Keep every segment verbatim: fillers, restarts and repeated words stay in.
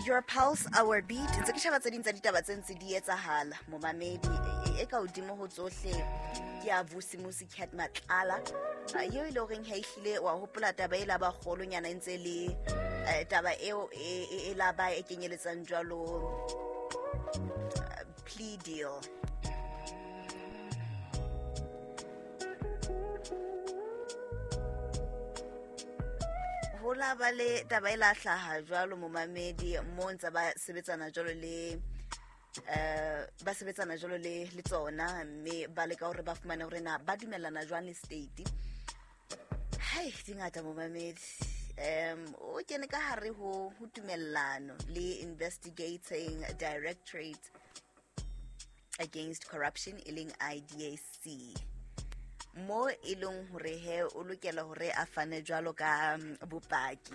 Your pulse, our beat. Ntse ke sheba tse ding tsa ditaba tse ntse di etsahala momamedi e ka hodimo ho tsohle ke ya Vusimusi Cat Matlala eo e le horeng ha ehlile wa hopola taba e la ba kgolonyana e ntse le taba eo e la ba e kenyeletsang jwalo plea deal. Ho la ba le taba e la hlaha jwalo momamedi mo ntse ba sebetsana jwalo le eh ba sebetsana jwalo le le tsona mme ba leka hore ba fumane hore na ba dumellana jwang le state. Hai dingata momamedi um o kene ka hare ho ho tumellano le Investigating Directorate Against Corruption e leng I D A C mo e leng hore he o lokela hore a fane jwalo ka bopaki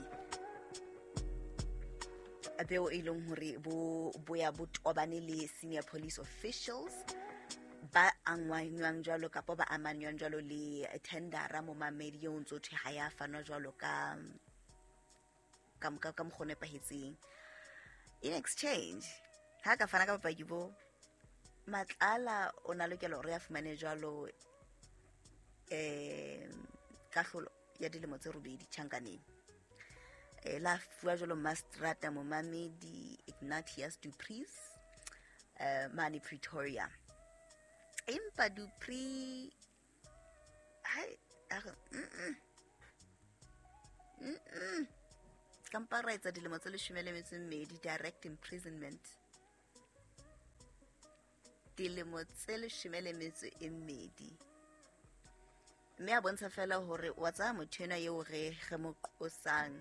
beo e leng hore bo boya bo tobane le senior police officials ba angwanywang jwalo kapa ba amanywang jwalo le tendera mo mamedi eo ntso thwe ha ya fanwa jwalo ka ka ka mokgwa o nepahetseng. In exchange ha ka fana ka bopaki bo Matlala o na lokela hore a fumane jwalo eh kahlolo ya dilemo tse robedi tjhankaneng. Eh la fuwa jwalo Mastrata momamedi Ignatius Du Preez eh mane Pretoria. Empa Du Preez hai a re mm mm kampa ra etsa dilemo tse leshome le metso e mmedi direct imprisonment. Dilemo tse leshome le metso e mmedi. Mme a bontsha fela hore wa tsaya motho enwa eo re re mo qosang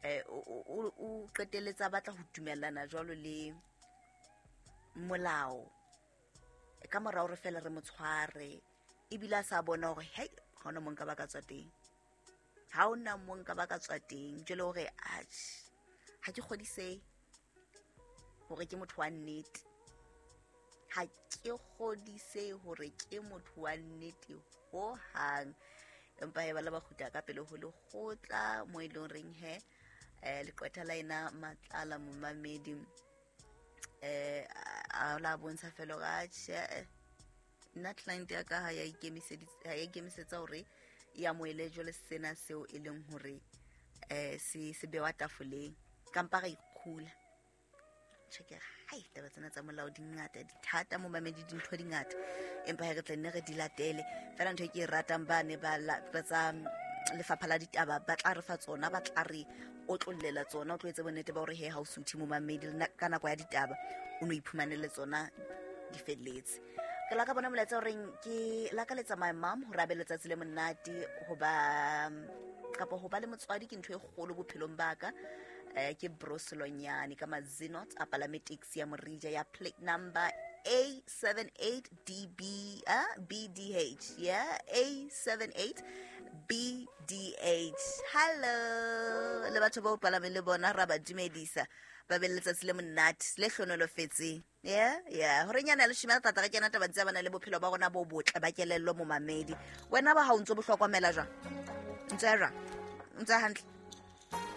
eh o o qetelletsa batla ho dumellana jwalo le molao ka mora hore fela re mo tshware ebile a sa bona hore hei ha hona mo nka ba ka tswa teng, ha hona mo nka ba ka tswa teng jwale hore atjhe ha ke kgodisehe hore ke motho wa nnete, ha ke kgodisehe hore ke motho wa nnete ho hang. Empa he ba la ba kgutla ka pele ho lekgotla mo e leng reng he eh leqwetha la ena Matlala momamedi eh a la bontsha fela hore atjhe nna client ya ka ha ya ikemiseditse ha ya ikemisetsa hore e amohele jwale sena seo e leng hore eh se se bewa tafoleng kampa ra ikgula. Tjhe ke hai taba tsena tsa molao di ngata di thata momamedi dintho di ngata empa he re tla nne re di latele fela. Ntho e ke e ratang ba ne ba tsa lefapha la ditaba ba tla re fa tsona ba tla re otlollela tsona o tlo etse bonnete ba hore he ha o suthe momamedi ka nako ya ditaba o no iphumanele tsona di felletse. Ke la ka bona molaetsa horeng ke lakaletsa my mom hore a be letsatsi le monate hoba kapa ho ba le motswadi ke ntho e kgolo bophelong ba ka. Eh ke Broselonyane ka Mazinot a palame taxi ya Morija ya plate number A seven eight D B uh, B D H yeah A seven eight B D H. Hello le batho ba o palameng le bona ra ba dumedisa ba be le letsatsi le monate le hlonolofetseng. Yeah yeah hore nyana le shima tata re kena taba tsa bana le bophelo ba rona bo botle ba kelello momamedi. Wena ba ha o ntso bohlokomela jwang? Ntse jwang? Ntse hantle?